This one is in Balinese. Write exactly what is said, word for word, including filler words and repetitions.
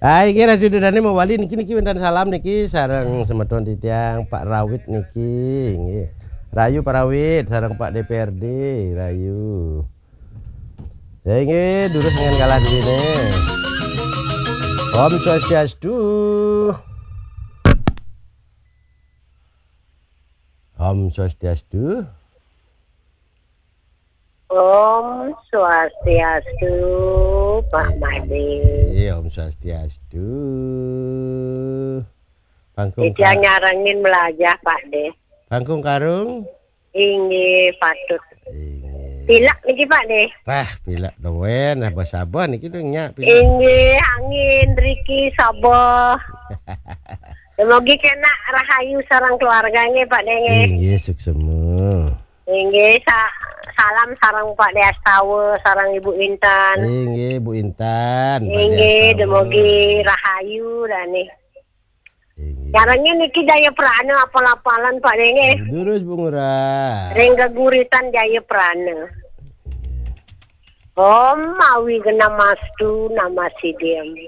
Hai, nggih, Ratu Dudane mawali niki, niki wenten salam niki sareng semeton titiang Pak Rawit niki, nggih. Rayu Pak Rawit sareng Pak D P R D, rayu. Ya, nggih, durus dengan kalah dene. Om Swastiastu. Om Swastiastu. Om Swastiastu, Pak Made. Iya, Om Swastiastu. Pangkung Titiang nyarengin melajah, Pak De. Pangkung karung? Inggih, patut. Inggih. Pilek niki, Pak De. Wah, pilek doen, abah-sabah niki dong nyak pilek. Inggih, angin, riki, sabah. Dumugi kena rahayu sareng keluarga nggih, Pak De, nggih. Inggih, suksema. Inggih, sa-, salam sareng Pak De Astawa, sareng Ibu Intan. Inggih, Bu Intan, Pak De Inggih, Astawa. Dumugi rahayu dane. Inggih. Caranya niki Jaya Prana apal-apalan, Pak De, nggih. Durus, Bu Ngurah. Ring geguritan Jaya Prana. Inggih. Om Awi Genamastu Nama Sidim.